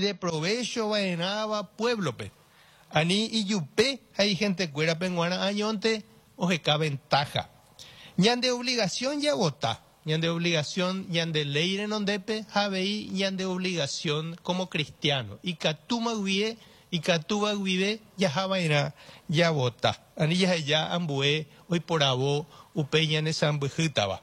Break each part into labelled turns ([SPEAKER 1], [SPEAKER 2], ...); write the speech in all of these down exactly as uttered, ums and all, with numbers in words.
[SPEAKER 1] Ideprovecho va'erãva pueblo-pe. Ani ijupe ha ihentekuérape g̃uarã añónte oheka ventaja. Ñande obligación javota, ñande obligación ñande ley renondépe ha avei ñande obligación como cristiano. Ikatúma guive, ikatúva guive jahava'erã javota. Ani jaheja ambue oiporavo upe ñane sãmbyhýtava.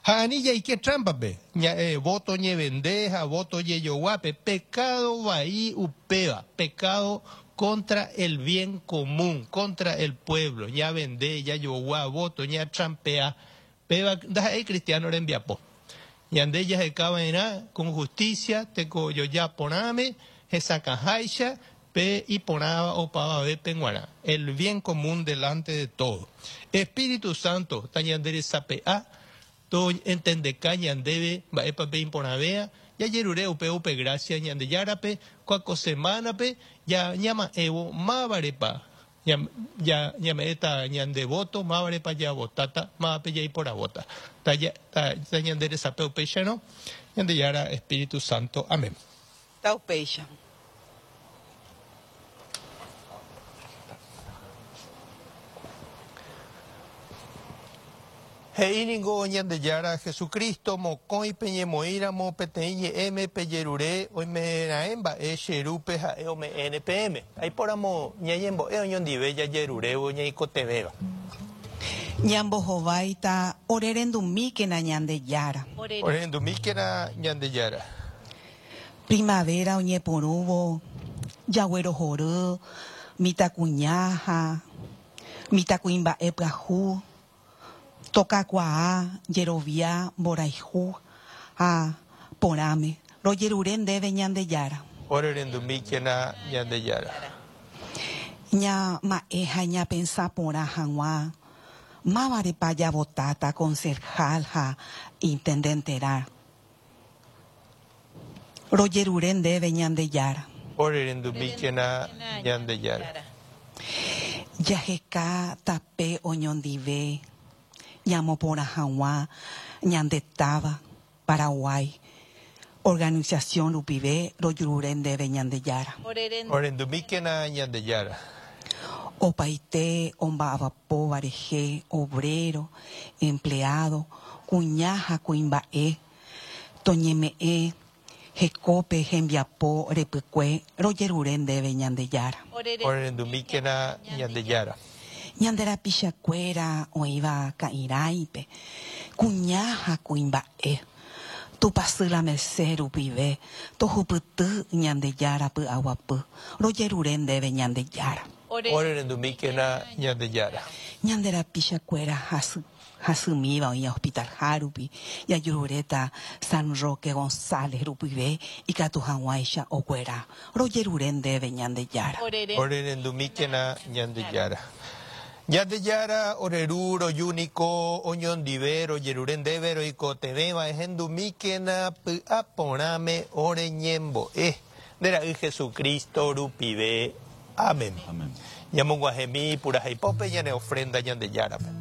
[SPEAKER 1] Ha ani jaike trámpape, ña, eh, voto ñevende ha voto jejoguápe, pecado vai upéva, pecado contra el bien común, contra el pueblo, ñavende, jajogua voto, ñatrampea, péva ndaha'éi cristiano rembiapo. Ñande jahekava'erã con justicia, tekojoja porãme, hesakãháicha, pe iporãva opavavépe g̃uarã. El bien común delante de todo. Espíritu Santo, tañanderesape'a, to entendeka ñandéve mba'épa pe iporãvéa, jajerure upe upe gracia Ñandejárape, kuako semana-pe, ya ñama'ẽvo mávarepa, ya, ya ñame'ẽta ñande voto, mávarepa javotáta, mávape jaiporavóta. Ta, ta, ta ñanderesape upéicharõ, Ñandejára Espíritu Santo. Amén.
[SPEAKER 2] Ta upéicha.
[SPEAKER 1] He'i ningo Ñandejára Jesucristo mokõi peñemoĩramo peteĩ ñe'ẽme pejerure oimeraẽ mba'e che rúpe ha'e ome'ẽne peẽme. Aipóramo ñañembo'e oñondive jajerurévo ñaikotevẽva.
[SPEAKER 2] Ñambohováita orerendumíkena Ñandejára.
[SPEAKER 1] Orerendumíkena Ñandejára.
[SPEAKER 2] Primavera oñepyrũvo jaguerohory mitãkuña ha mitãkuimba'e pyahu tokakuaa jerovia mborayhu ha porãme rojerure ndéve Ñandejára.
[SPEAKER 1] Orerendumíkena Ñandejára.
[SPEAKER 2] Ñama'ẽ ha ñapensa porã hag̃ua mávarepa javotáta concejal ha intendenterã. Rojerure ndéve Ñandejára.
[SPEAKER 1] Orerendumíkena Ñandejára.
[SPEAKER 2] Jaheka tape oñondive ñamoporã hag̃ua ñande táva Paraguay. Organización rupive rojerure ndéve Ñandejára.
[SPEAKER 1] Orerendumíkena Ñandejára.
[SPEAKER 2] Opaite omba'apóva rehe, obrero, empleado, kuña ha kuimba'e, toñeme'ẽ hekópe hembiapo repykue rojerure ndéve Ñandejára.
[SPEAKER 1] Orerendumíkena Ñandejára.
[SPEAKER 2] Ñande rapichakuéra oĩva ka'irãipe, kuña ha kuimba'e, Tupãsy la Merced rupive, tohupyty Ñandejára py'aguapy, rojerure ndéve Ñandejára.
[SPEAKER 1] Orerendumíkena Ñandejára.
[SPEAKER 2] Ñande rapichakuéra hasy hasymíva oĩ hospital rupi, jajeruréta San Roque González rupive ikatu hag̃uáicha okuera, rojerure ndéve Ñandejára.
[SPEAKER 1] Orerendumíkena Ñandejára. Ñandejára ore ru rojúniko oñondive rojerure ndéve roikotevẽva ehendumíkena py'aporãme oreñembo'e. Nde ra'y Jesucristo rupive. Amén.
[SPEAKER 3] Amén.
[SPEAKER 1] Ñamog̃uahẽmi puraheipópe ñane ofrenda Ñandejárape.